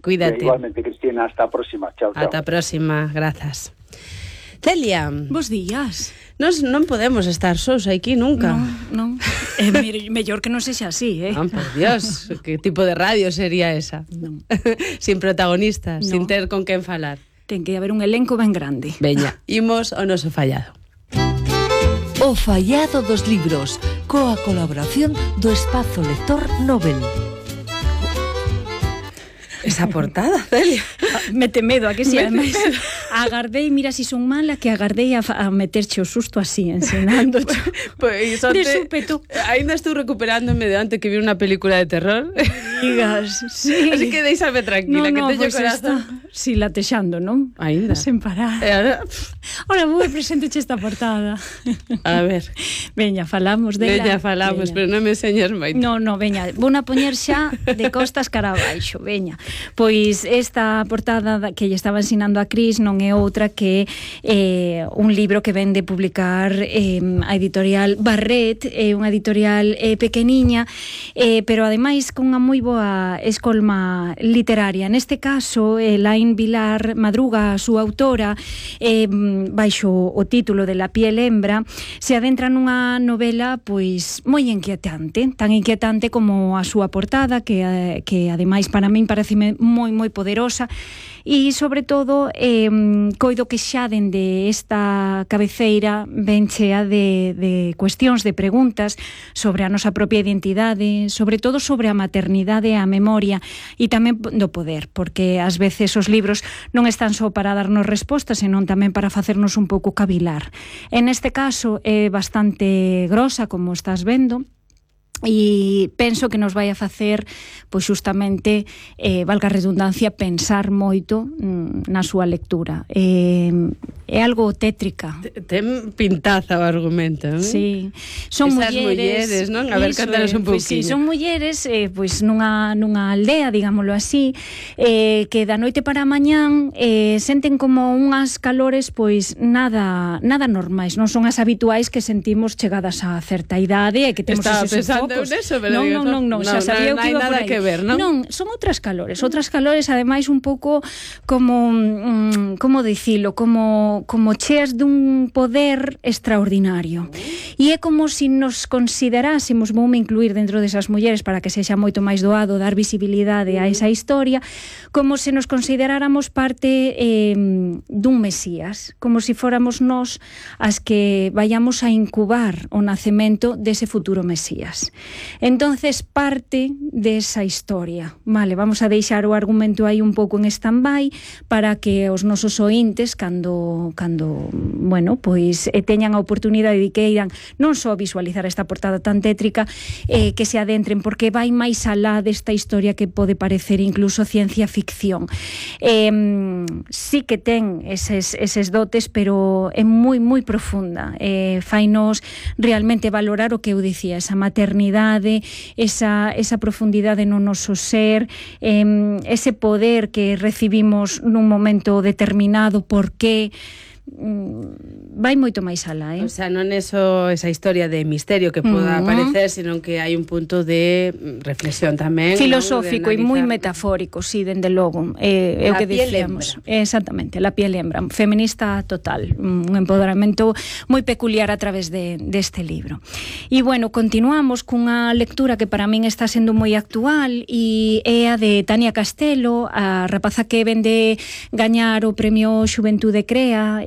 Cuídate. Igualmente, Cristina, hasta a próxima. Chao, chao. Ata a próxima, grazas. Celia. Bos días. Nós non podemos estar sós aquí nunca. Non. Mellor que non sexa así, Non, por Dios, que tipo de radio sería esa? Non. Sin protagonistas, No. sin ter con quen falar. Ten que haber un elenco ben grande. Veña, imos ao noso fallado. O fallado dos libros, coa colaboración do Espazo Lector Nobel. Esa portada, Celia. Mete medo, a que si ademais agardei, mira si son mala, que agardei a meterche o susto así, ensinándoche. Pois De súpeto. Ainda estou recuperándome de antes que vi unha película de terror. Digas, sí. Así que deixame tranquila, que teño pues corazón. Si latexando, non? Ainda. Sen parar. E ahora, Ora vou presenteche esta portada. a ver, Veña, falamos dela. veña falamos, Veña. pero non me enseñas moito. No, veña, vou a poñer xa de costas cara abaixo, veña. Pois esta portada que lle estaba ensinando a Cris non é outra que un libro que ven de publicar a editorial Barret, unha editorial pequeniña, pero ademais con unha moi boa escolma literaria. Neste caso, Laín Vilar Madruga, a súa autora, baixo o título de La piel hembra, se adentra nunha novela pois moi inquietante, tan inquietante como a súa portada, que ademais para min pareceme moi poderosa, e sobre todo coido que xa dende esta cabeceira ben chea de cuestións, de preguntas sobre a nosa propia identidade, sobre todo sobre a maternidade e a memoria, e tamén do poder, porque ás veces os libros non están só para darnos respostas, senón tamén para facernos un pouco cavilar. En este caso é bastante grosa, como estás vendo, e penso que nos vai a facer pois justamente, valga a redundancia, pensar moito na súa lectura. É algo tétrica. Ten pintaza o argumento, non? Sí. Son esas mulleres, non? A ver, cántanos un pouquinho. Pois sí, son mulleres pois nunha aldea, digámoslo así, que da noite para a mañán senten como unhas calores pois nada normais, non son as habituais que sentimos chegadas a certa idade e que temos Estaba esos pensando focos. neso, pero Non, xa sabía o que iba por aí. Non hai nada que ver, non? Non, son outras calores, ademais un pouco como como dicilo, como cheas dun poder extraordinario. E é como se nos considerásemos, voume incluir dentro desas mulleres para que sexa moito máis doado dar visibilidade a esa historia, como se nos consideráramos parte dun Mesías, como se fóramos nós as que vayamos a incubar o nacemento dese futuro Mesías. Entonces parte desa historia. Vale, vamos a deixar o argumento aí un pouco en stand-by para que os nosos ointes cando bueno, pois teñan a oportunidade de que irán non só visualizar esta portada tan tétrica, que se adentren, porque vai máis alá desta historia que pode parecer incluso ciencia ficción. Sí que ten eses dotes, pero é moi profunda. Fainos realmente valorar o que eu dicía, esa maternidade, esa profundidade no noso ser, ese poder que recibimos nun momento determinado, por qué vai moito máis alá, O sea, non é só esa historia de misterio que poda aparecer, senón que hai un punto de reflexión tamén, filosófico, ¿no? e moi metafórico, sí, dende logo. É o que dicíamos. Exactamente, La piel hembra, feminista total, un empoderamento moi peculiar a través deste libro. E bueno, continuamos cunha lectura que para min está sendo moi actual, e é a de Tania Castelo, a rapaza que vende gañar o premio Xuventude Crea,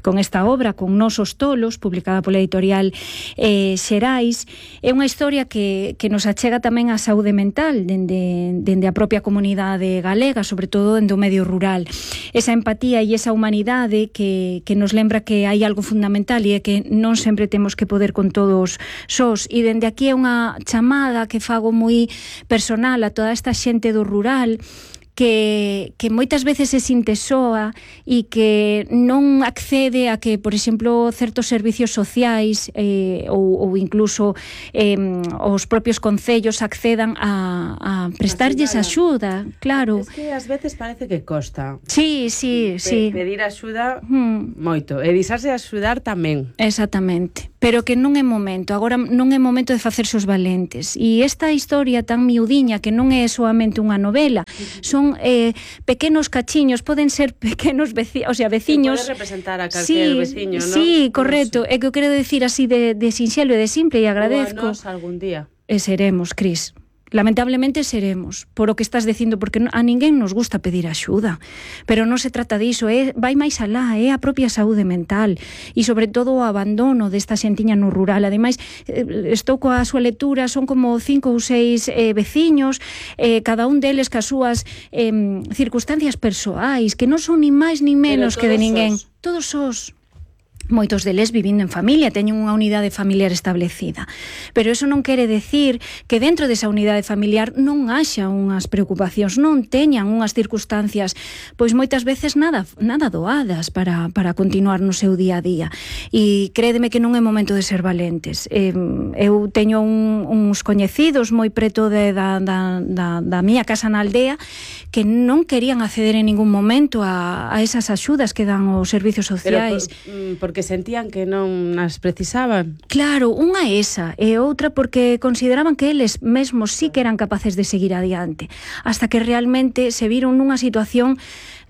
con esta obra, con Nosos tolos, publicada pola editorial Xerais. É unha historia que nos achega tamén a saúde mental dende a propia comunidade galega, sobre todo dende o medio rural. Esa empatía e esa humanidade que nos lembra que hai algo fundamental, e é que non sempre temos que poder con todos sós. E dende aquí é unha chamada que fago moi personal a toda esta xente do rural que moitas veces se sinte soa e que non accede a que, por exemplo, certos servicios sociais ou incluso os propios concellos accedan a prestarlles axuda, claro. Es que ás veces parece que costa. Sí. Pedir axuda moito, e disarse a axudar tamén. Exactamente. pero que non é momento, agora non é momento de facerse os valentes. E esta historia tan miudiña, que non é soamente unha novela, son pequenos cachiños, poden ser pequenos veciños. Pode representar a calquer veciño, non? Sí, correcto, é que eu quero decir así de sinxelo e de simple, e agradezco. Ou a nos algún día. E seremos, Cris. Lamentablemente seremos, por o que estás dicindo, porque a ninguén nos gusta pedir axuda, pero non se trata diso, vai máis alá, é a propia saúde mental e sobre todo o abandono desta xentiña no rural. Ademais, estou coa súa lectura, son como 5 ou 6 veciños, cada un deles cas súas circunstancias persoais, que non son ni máis ni menos que de ninguén. Todos os moitos deles vivindo en familia, teñen unha unidade familiar establecida. Pero eso non quere decir que dentro desa unidade familiar non haxa unhas preocupacións, non teñan unhas circunstancias, pois moitas veces nada doadas para continuar no seu día a día. E crédeme que non é momento de ser valentes. Eu teño uns coñecidos moi preto da miña casa na aldea que non querían acceder en ningún momento a esas axudas que dan os servicios sociais. Porque sentían que non as precisaban. Claro, unha esa, e outra porque consideraban que eles mesmos sí que eran capaces de seguir adiante, hasta que realmente se viron nunha situación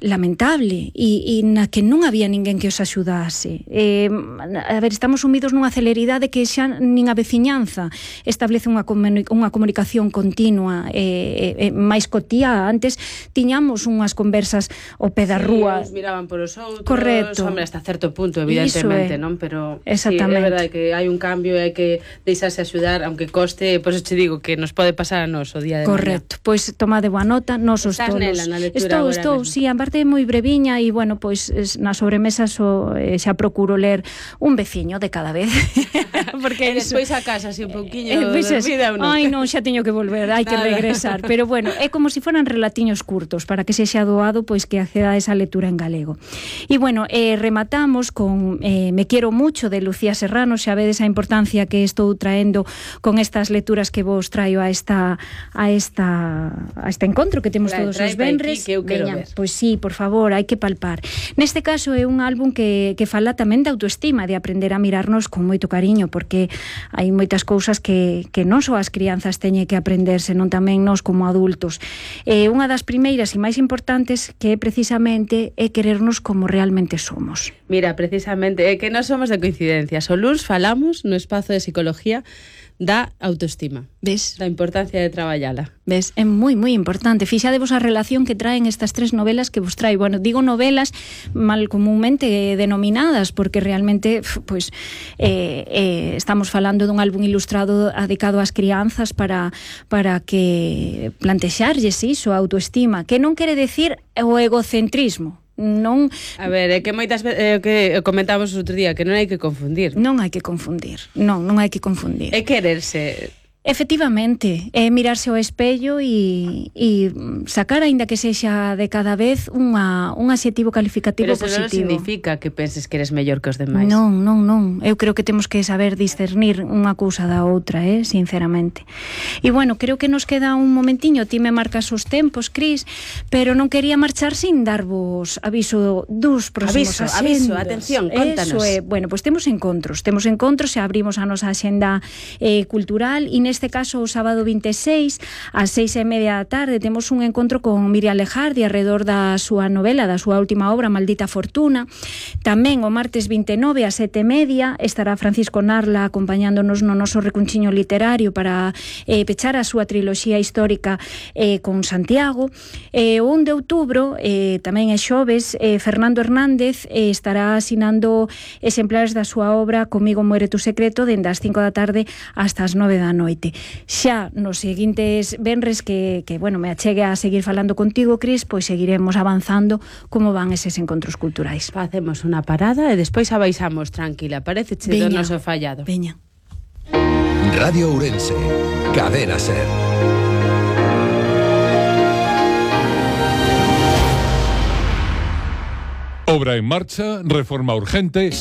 lamentable e na que non había ninguén que os axudase. A ver, estamos sumidos nunha celeridade que xa nin a veciñanza establece unha comunicación continua máis cotía. Antes tiñamos unhas conversas ao pé da rúa. Uns miraban por os outros. Correcto. Hombre, hasta certo punto, evidentemente, non? Pero exactamente. Sí, é verdade que hai un cambio e hai que deixarse axudar, aunque coste, pois te digo que nos pode pasar a nos o día de correcto. Pois tomade boa nota, nos os tolos. Estás nela na lectura Estou, sí, parte moi breviña e, bueno, pois na sobremesa xa procuro ler un veciño de cada vez. Porque despois a casa así un pouquiño dormida ou non? Ai, non, xa teño que volver, hai que regresar. Pero, bueno, é como se foran relatiños curtos para que sexa doado, pois que acceda a esa lectura en galego. E, bueno, rematamos con Me quiero mucho, de Lucía Serrano. Xa vedes a importancia que estou traendo con estas lecturas que vos traio a este encontro que temos todos os venres. Veña, pois sí, por favor, hai que palpar. Neste caso é un álbum que fala tamén de autoestima, de aprender a mirarnos con moito cariño, porque hai moitas cousas que non só as crianzas teñen que aprender, senón tamén nós como adultos. Unha das primeiras e máis importantes que precisamente é querernos como realmente somos. Mira, precisamente, é que non somos de coincidencias. O luns falamos no espazo de psicología da autoestima. Ves? Da importancia de traballala. Ves? É moi, moi importante. Fixadevos a relación que traen estas 3 novelas que vos traio. Bueno, digo novelas mal comúnmente denominadas, porque realmente pois, estamos falando dun álbum ilustrado dedicado ás crianzas para que plantexarlles iso, a autoestima, que non quere decir o egocentrismo. Non, a ver, é que moitas veces que comentamos o outro día, que non hai que confundir. Non hai que confundir. Non hai que confundir. É quererse. Efectivamente, é mirarse ao espello e sacar, aínda que sexa de cada vez, un adxetivo calificativo positivo. Pero eso non significa que penses que eres mellor que os demais. Non. Eu creo que temos que saber discernir unha cousa da outra, sinceramente. E, bueno, creo que nos queda un momentiño. Ti me marcas os tempos, Cris, pero non quería marchar sin darvos aviso dos próximos asendos. Aviso, atención, contanos. Eso é, bueno, pois temos encontros, e abrimos a nosa axenda cultural, e neste caso o sábado 26 ás 6:30 da tarde temos un encontro con Miriam Lejardi alrededor da súa novela, da súa última obra, Maldita Fortuna. Tamén o martes 29 ás 7:30 estará Francisco Narla acompañándonos no noso recunchiño literario para pechar a súa triloxía histórica con Santiago. O 1 de outubro, tamén é xoves, Fernando Hernández estará asinando exemplares da súa obra Comigo muere tu secreto, dende as 5 da tarde hasta as 9 da noite. Xa nos seguintes venres que bueno, me achegue a seguir falando contigo, Cris, pois seguiremos avanzando como van eses encontros culturais. Facemos unha parada e despois abaixamos tranquila. Pareceche do noso fallado. Veña. Radio Ourense, Cadena Ser. Obra en marcha, reforma urgente.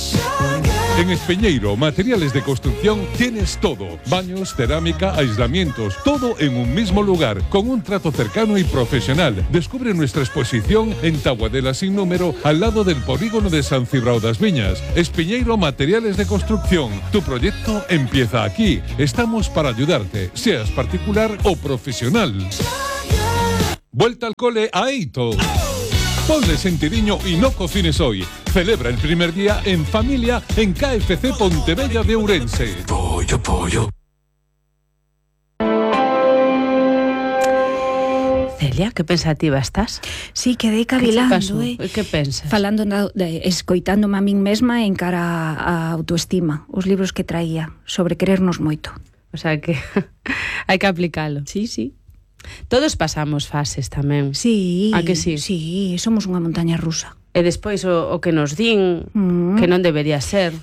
En Espeñeiro Materiales de Construcción tienes todo. Baños, cerámica, aislamientos, todo en un mismo lugar, con un trato cercano y profesional. Descubre nuestra exposición en Taboadela sin número, al lado del polígono de San Cibrao das Viñas. Espeñeiro Materiales de Construcción. Tu proyecto empieza aquí. Estamos para ayudarte, seas particular o profesional. Vuelta al cole a Eito. Ponle sentidiño y no cocines hoy. Celebra el primer día en familia en KFC Pontevella de Ourense. Pollo. Celia, que pensativa estás? Sí, quedei cavilando, Que pensas? Falando, escoitándome a min mesma en cara a autoestima, os libros que traía sobre querernos moito. O sea que hai que aplicalo. Sí. Todos pasamos fases tamén. Sí. A que sí? Sí, somos unha montaña rusa. E despois o que nos din que non debería ser.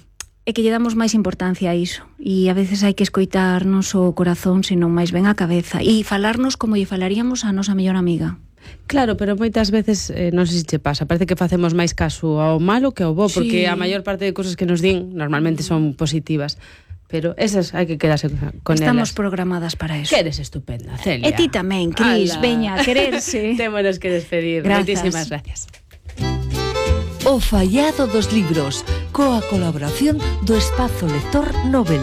É que lle damos máis importancia a iso. E a veces hai que escoitarnos o corazón, senón máis ben a cabeza. E falarnos como lle falaríamos a nosa mellor amiga. Claro, pero moitas veces, non sei se che pasa, parece que facemos máis caso ao malo que ao bo, porque a maior parte de cousas que nos din normalmente son positivas. Pero esas hai que quedarse con elas. Estamos programadas para eso. Que eres estupenda, Celia. E ti tamén, Cris, veña, a quererse. Témonos que despedir. Moitísimas gracias. O fallado dos libros, coa colaboración do Espazo Lector Nobel.